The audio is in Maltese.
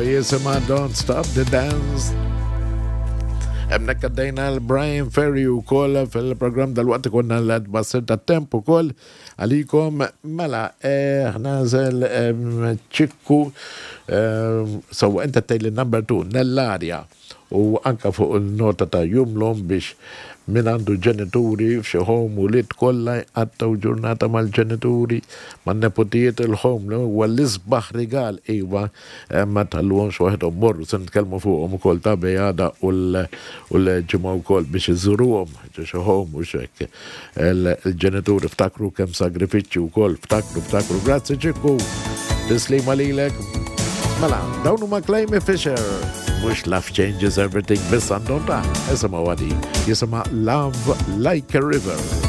Jisimha Don't Stop the Dance. Hemmhekk għaddejna l-Brian Ferry u koll fil-program dal-waqt konna l-bassir ta' temp u koll għalikom mela eh, ħnażel ċikku eh, so inta tgħid number 2 Nellaria u anka fuq il-nota ta' Jum l-Omm biex min għandu ġenituri f'xi home ulied kollha jqattgħu ġurnata mal-ġenituri, man-neputijiet il-home li huwa l-isbaħ rigal iva ma tħalluhomx waħedhom morru se nitkellmu fuqhom ukoll ta' bej għada u l-ġimgħa wkoll biex iżuruhom ġo xi home u x'hekk il-ġenituri ftakru kemm sagrifiċċji wkoll ftakru ftakru grazzi Ċikku tislima lilek mela dawn huma Clayme Fisher mhux Love Changes Everything biss għandhom ta' isimgħu għadi jisimha Love Like a River.